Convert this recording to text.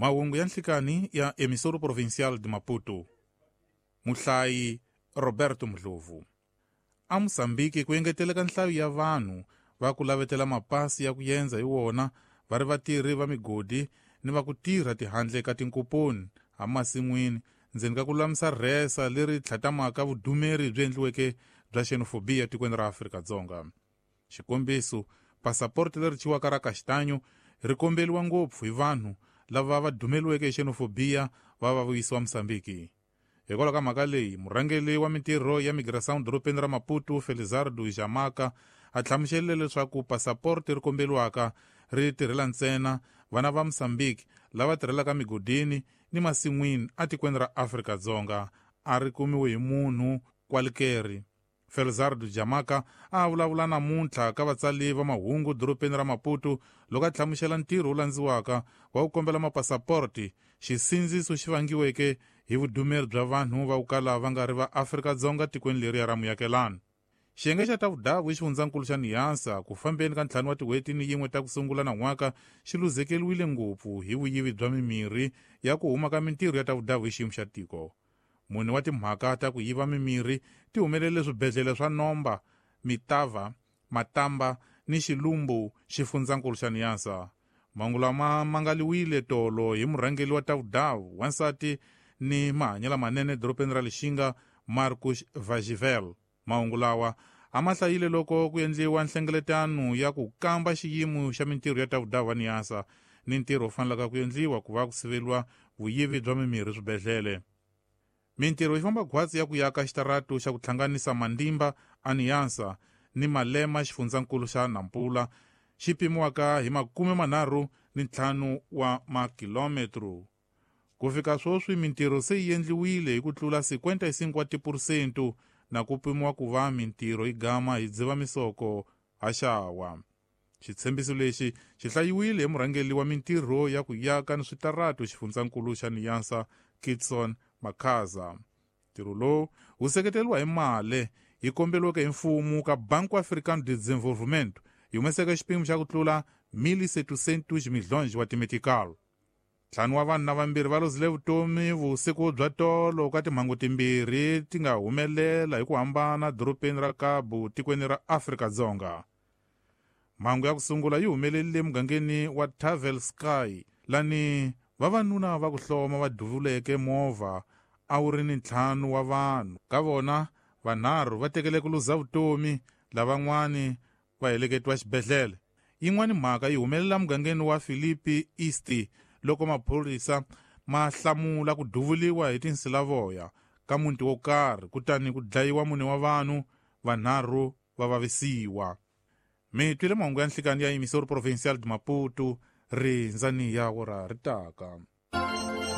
Mahungu ya nhlikani ya Emissora Provincial de Maputo. Muhlayi Roberto Mdlovu. A Mozambique ku engeteleka nhlayo ya vanhu va ku lavetela mapasi ya ku yendza hi wona va ri vatirhi va migodi ni va ku tirha tihandle ka tinkoponi emasin'wini ndzeni ka ku lulamisa rhesa leri tlhatamaka vudumeri byi endliweke bya xenophobia tikweni ra Afrika-Dzonga. Xikombiso, pasaporte leri thyiwaka ra Castanho ri kombeliwa ngopfu hi vanhu lava va dumeliweke hi xenophobia va va vuyisiwa Mozambique. Hikwalaho ka mhaka leyi, murhangeri wa mintirho ya migração dorobeni ra Maputo, Felizardo Jamaka, a hlamuserile leswaku pasaporte ri kombeliwaka ri tirhela ntsena vana va Mozambique lava tirhelaka migodini ni masin'wini atikweni ra Afrika-Dzonga, a ri kumiwi hi munhu kwalikeri. Felizardo Jamaka a vulavula namuntlha ka vatsali va mahungu dorobeni ra Maputo loko a hlamusela ntirho wu landziwaka wa ku kombela mapasaporti, xisindziso xi vangiweke hi vudumeri bya vanhu va ku kala va nga ri va Afrika-Dzonga tikweni leriya ra muakelani. Xiyenge xa ta vudavu i xifundzankulu xa Niassa ku fambeni ka 5 wa tin'hweti ni yin'we ta ku sungula nan'waka xi luzekeriwile ngopfu hi vuyivi bya mimirhi ya ku huma ka mintirho ya ta vudavu hi xiyimo xa tiko. Mune wa timhaka ta ku yiva mimirhi ti humelele swibedhlele swa Nomba, Mitava, Matamba ni Xilumbu xifundzankulu xa Niassa. Mahungu lama mangaliwile tolo hi murhangeri wa ta vudavu, wansati ni mahanyelo manene dorobeni ra Lixinga, Marcus Vagivel. Mahungu lawa a ma hlayile loko ku endliwa nhlengeletano ya ku kamba xiyimo xa mintirho ya ta vudavu wa Niassa ni ntirho wu fanelaka ku endliwa ku va ku siveliwa vuyivi bya mimirhi swibedhlele. Mintirho yi famba khwatsi ya ku yaka xitaratu xa ku hlanganisa Mandimba a Niassa ni Malema xifundzankulu xa Nampula xi pimiwaka hi 35 wa makilometro. Ku fika sweswi mintirho se yi endliwile hi ku tlula 55 wa tiphurusente na ku pimiwa ku va mintirho yi gama hi Dzivamisoko haxawa. Xitshembiso lexi xi hlayiwile hi murhangeri wa mintirho ya ku yaka ni switaratu xifundzankulu xa Niassa, Kitson Makhaza. Ntirho lowu wu seketeriwa hi mali yi komberiweke hi mfumo ka Banco Africano de Desenvolvimento yi humeseke xipimo xa ku tlula 1.700 milhões wa timetical. 5 wa vanhu na vambirhi va lozile vutomi vusiku bya tolo ka timhangu timbirhi ti nga humelela hi ku hambana dorobeni ra Cabo tikweni ra Afrika-Dzonga. Mhangu ya ku sungula yi humelerile emugangeni wa Tavel Sky lani vavanuna va ku hloma va duvuleke movha a wu ri ni 5 wa vanhu. Ka vona vanharhu va tekele ku luza vutomi, lavan'wani va heleketiwa xibedhlele. Yin'wani mhaka yi humelela mugangeni wa Philippi East loko maphorisa ma hlamula ku duvuliwa hi tinsilavoya ka muti wo karhi kutani ku dlayiwa 4 wa vanhu, vanharhu va vavisiwa. Mi twile mahungu ya nhlikani ya Emissora Provincial de Maputo, rindzani ya wora ri taka.